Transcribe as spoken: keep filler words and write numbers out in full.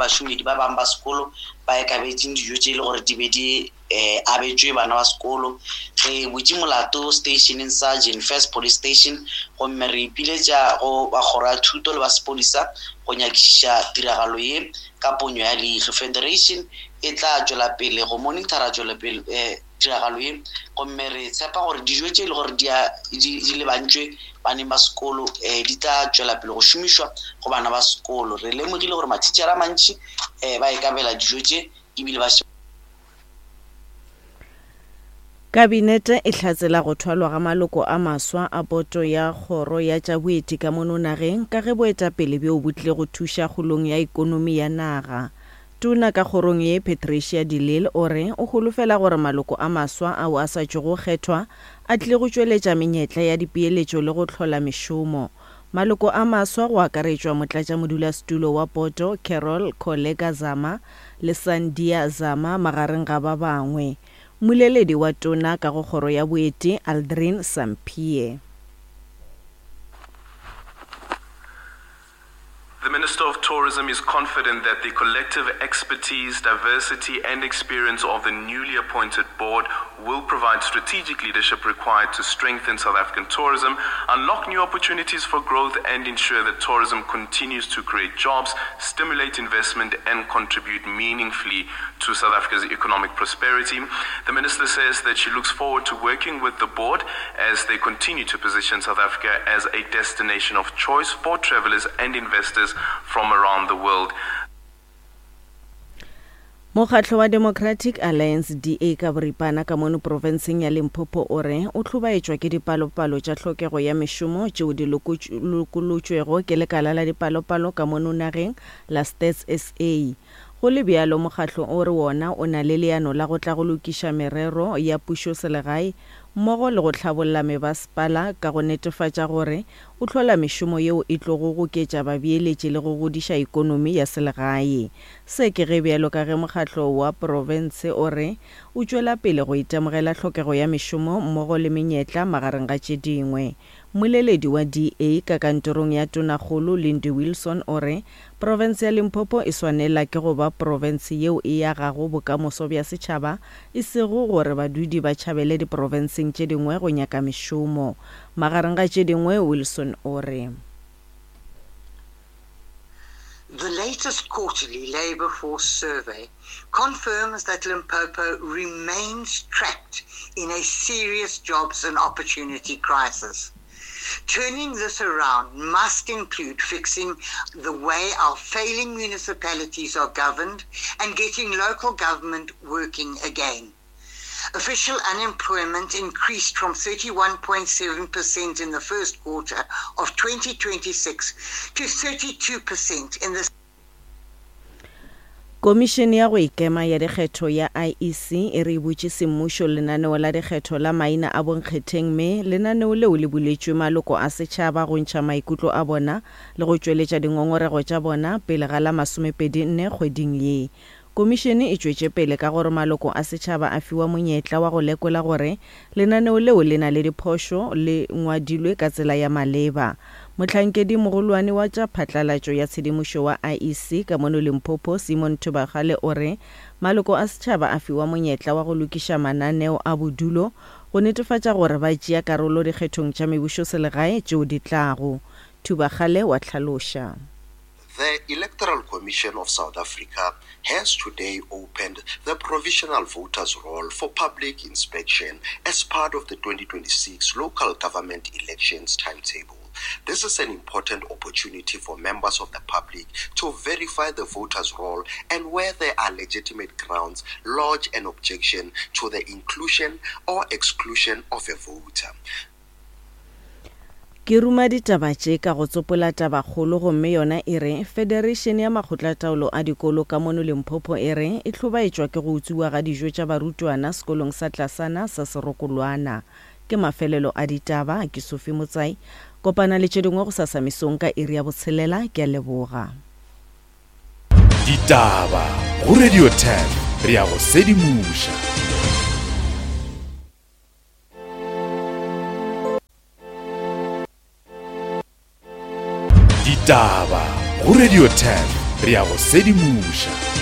bašomedi ba bangwe ba sekolo ba ekabetseng dijo tše e le gore di be di um abetšwe bana ba sekolo. Re butše molato stationeng sa Jane First Police Station, gomme re ipiletša go ba kgoro ya thuto le ba sepodisa go nyakišiša tiragalo ye ka ponyo ya leihlo. Federation e tla tšwela pele go monitora tšwelopele um tiragalo ye, gomme re tshepa gore dijo tše e le gore di di lebantšwe baneng ba sekolo um di tla tšwela pele go šomišwa go bana ba sekolo. Re lemogile gore mathitšhere a mantši um ba ekabela dijo tše ebile ba. Kabinete e hlatsela go thwalwa ga maloko a maswa a boto ya kgoro ya tša boeti ka mono nageng ka ge boetapele bjo bo tlile go thuša kgolong ya ikonomi ya naga. Tona ka kgorong ye Patricia de Lille o re o holofela gore maloko a maswa ao a sa tšogo kgethwa a tlile go tšweletša menyetla ya dipeeletšo le go hlola mešomo. Maloko a maswa go akaretšwa motlatšamodulasetulo wa boto Carol Koleka Zama le Sandia Zama magareng ga ba bangwe. Mmoleledi wa tona ka go kgoro ya boeti Aldrin Sampear. The Minister of Tourism is confident that the collective expertise, diversity, and experience of the newly appointed board will provide strategic leadership required to strengthen South African tourism, unlock new opportunities for growth, and ensure that tourism continues to create jobs, stimulate investment, and contribute meaningfully to South Africa's economic prosperity. The minister says that she looks forward to working with the board as they continue to position South Africa as a destination of choice for travelers and investors from around the world. Mokgatlo wa Democratic Alliance D A ka boripana ka mono profenseng ya Limpopo o re o hlobaetšwa ke dipalopalo tša tlhokego ya mešomo tšeo di lokolotšwego ke lekala la dipalopalo ka mono nageng la Stats S A. Go le bjalo mokgatlo o re wona o na le leano la go tla go lokiša merero ya pušo selegae mmogo le go hlabolla mebasepala ka go netefatša gore o hlola mešomo yeo e tlogo goketša babeeletši le go godiša ikonomi ya selegae. Se ke ge bjalo ka ge mokgatlo wa profense o re o tšwela pele go itemogela tlhokego ya mešomo mmogo le menyetla magareng ga tše dingwe. Mmoleledi wa D A ka kantorong ya Tonakgolo Lindy Wilson o re profense ya Limpopo e swanela ke go ba profense yeo e agago bokamoso bja setšhaba, e sego gore badudi ba tšhabele diprofenseng tše dingwe go nyaka mešomo. Magareng ga tše dingwe Wilson o re The latest quarterly labour force survey confirms that Limpopo remains trapped in a serious jobs and opportunity crisis. Turning this around must include fixing the way our failing municipalities are governed and getting local government working again. Official unemployment increased from thirty-one point seven percent in the first quarter of twenty twenty-six to thirty-two percent in the Komišene ya go ikema ya dikgetho ya I E C e re butše semmušo lenaneo la dikgetho la maina a bonkgetheng, mme lenaneo leo le buletšwe maloko a setšhaba go ntšha maikutlo a bona le go tšweletša dingongorego tša bona pele ga la masomepedi nne kgweding ye. Komišene e tšwetše pele ka gore maloko a setšhaba a fiwa monyetla wa go lekola gore lenaneo leo le na le diphošo le ngwadilwe ka tsela ya maleba. Mohlankedi mogolwane wa tša phatlalatšo ya tshedimošo wa I E C ka mono Limpopo Simon Thubagale o re maloko a setšhaba a fiwa monyetla wa go lokiša mananeo a bodulo go netefatša gore ba tšea karolo dikgethong tša mebušoselegae tšeo di tlago. Thubagale wa hlaloša. The Electoral Commission of South Africa has today opened the provisional voters roll for public inspection as part of the twenty twenty-six local government elections timetable. This is an important opportunity for members of the public to verify the voters' roll and where there are legitimate grounds, lodge an objection to the inclusion or exclusion of a voter. Ke ruma ditaba tše ka go tsopola tabakgolo, gomme yona e re Federation ya Makgotlataolo a Dikolo ka mono Limpopo e re e hlobaetšwa ke go utswiwa ga dijo tša barutwana sekolong sa tlasana sa Serokolwana. Ke mafelelo a ditaba, ke Sophie Motsai. Kopana le tše dingwe go sasa mesong ka iri ya botshelela. Ke a leboga. Ditaba go Radio ten, re ya go sedimoša. Ditaba go Radio ten, Re a go sedimoša.